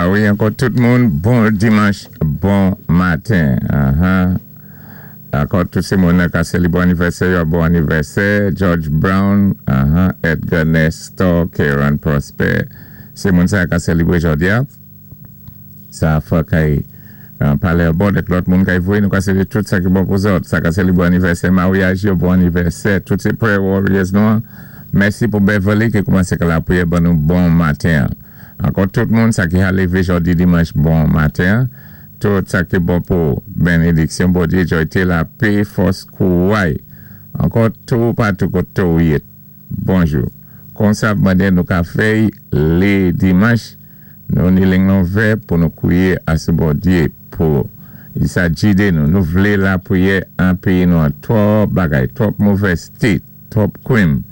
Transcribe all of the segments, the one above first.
A wi, ankò tout moun, bon dimanch, bon maten. Ankò tout sé moun ka sélibwé anivèsè yo, bon anivèsè. George Brown, Edgar Nestor, Karen Prosper. Sé moun sa ka sélibwé jòdi-a. Sa fò kay palé bon dèk lòt moun kay voyé nou ka swété tout sa ki bon pou zòt. Sa ka sélibwé anivèsè maryaj yo, bon anivèsè. Tout sé prayer warriors nou. Mèsi pou Beverly ki koumansé ka lapriyè ban nou bon maten. Ankò tout moun sa ki a lévé jòdi dimanch, bon maten. Tout sa ki bon pou bénédiksyon Bondyé, jòyté, lapè, fòs, kouray. Ankò tou patou koté ou yé. Bonjou. Konsa mandé nou ka fè lé dimanch nou ni ling lan ouvè pou nou kwiyé asou Bondyé pou sa gidé nou. Nou vlé lapriyè an péyi nou an twòp bagay, twòp movèzté, twòp krim,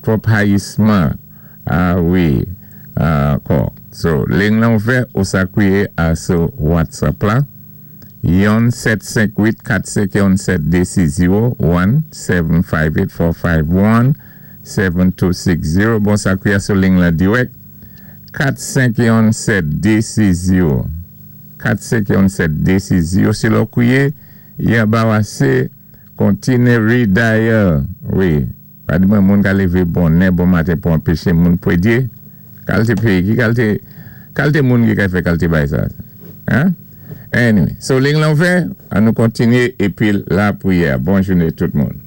twòp hayisman. A wi. Ankò. So, ling lan ouvè ou sa kwiyé asou WhatsApp la. 1 7 5 8 4 5 1 7 2 6 0 1 7 5 8 4 5 1 7 2 6 0. Bon, sa kwiyé sou ling la dirèk 4 5 1 7 2 6 0 4 5 1 7 2 6 0. Si lò kwiyé yon ba wase kontiné redial, wi. Pa di mwen moun ka lévé bonè bon maten pou anpéché moun pwédyé. Kalté péyi, ki kalté kalté moun ki ka fè kalté bay sa? Hein? Anyway, so ling lan ouvè, an nou kontinyé épi lapriyè. Bon jouné tout moun.